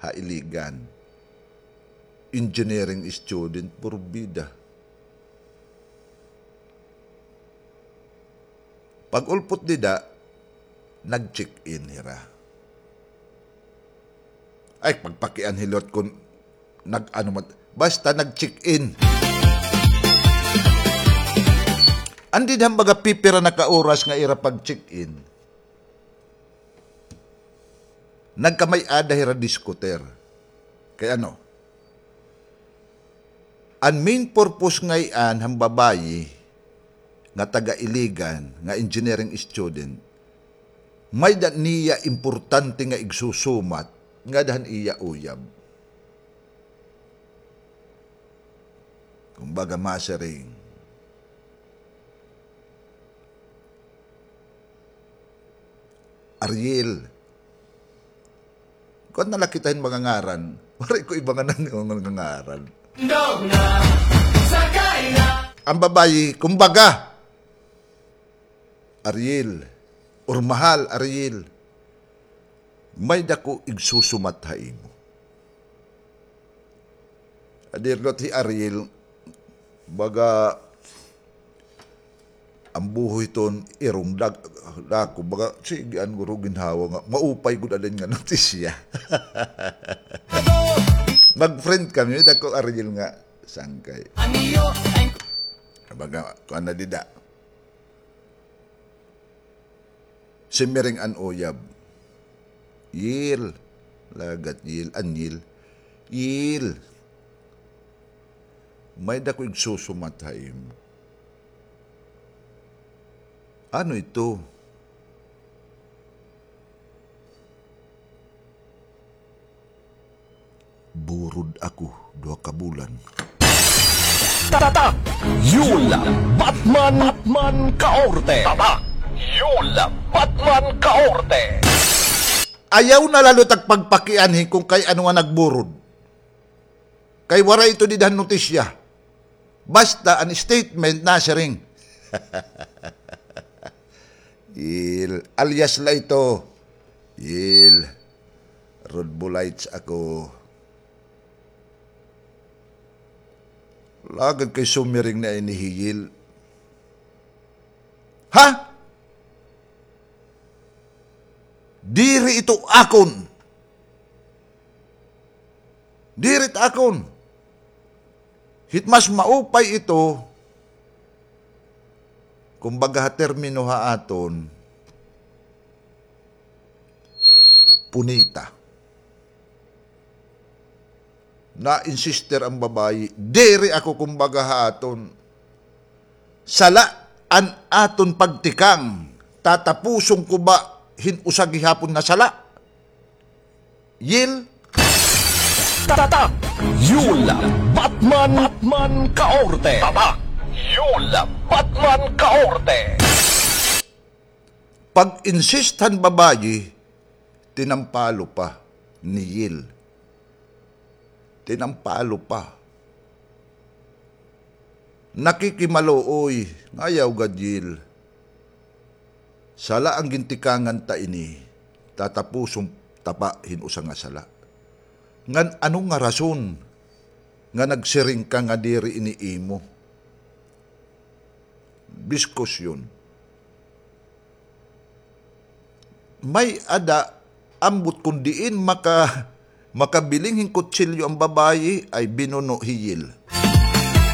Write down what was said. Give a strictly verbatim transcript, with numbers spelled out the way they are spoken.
ha Iligan. Engineering student, porbida. Pag-ulpot dida, nag-check-in hira. Ay, pagpakian hilot kon nag-ano man, basta nag-check-in. Andi han baga pipira na ka oras nga ira pag-check-in. Nagkamay-ada hira diskutir. Kay ano? An main purpose ngay-an han babayi nga taga Iligan, nga engineering student, may-ada niya importante nga igsusumat ngada han iya uyab. Kumbaga, masiring, Ariel. Kuan na la kita hin mga ngaran. Waray ko iba nga nan-, mga ngaran. An babayi, kumbaga, Ariel, or mahal, Ariel, may-ada ko igsusumat ha imo. Adi rot hi Ariel, baga, an buho hiton irong dag-, dako, baga, sige, an guro ginhawa nga, maupay gud adin nga notisya. Mag-friend kami, dako Ariel nga sangkay. Baga, kuan na dida. Simiring an uyab. Yil. Lagat, Yil. An Yil. Yil. May-ada ko igsusumat ha imo. Ano ito? Burod ako, duha ka bulan. Tatak! Yul Batman, Batman Kaorte! Tatak! Yul Batman Kaorte! Ayaw na la liwat pagpakianhi kon kay ano nga nagburod. Kay waray ito dida han notisya. Basta an statement nasiring. Yil, alias la ito. Yil, Rodbolites ako. Lagad kay sumiring na ini hi Yil. Ha? Diri ito akon. Diri it akon. Hit mas maupay ito, kumbaga ha termino ha aton, punita. Na-insister an babayi, diri ako kumbaga ha aton. Sala an aton pagtikang, tatapuson ko ba hin usa gihapon nga sala? Yil. Tatak! Yul Batman, Batman Kaorte! Tatak! Yul Batman Kaorte! Pag-insist han babayi, tinampalo pa ni Yil. Tinampalo pa. Nakikimaluoy, nga ayaw gad, Yil. Sala an gintikangan ta ini, tatapuson ta pa hin usa nga sala. Ngan ano nga rason nga nagsiring ka nga diri ini imo? Diskusyon. May-ada ambot kon diin maka-, makabiling hin kutsilyo an babayi, ay binuno hi Yil.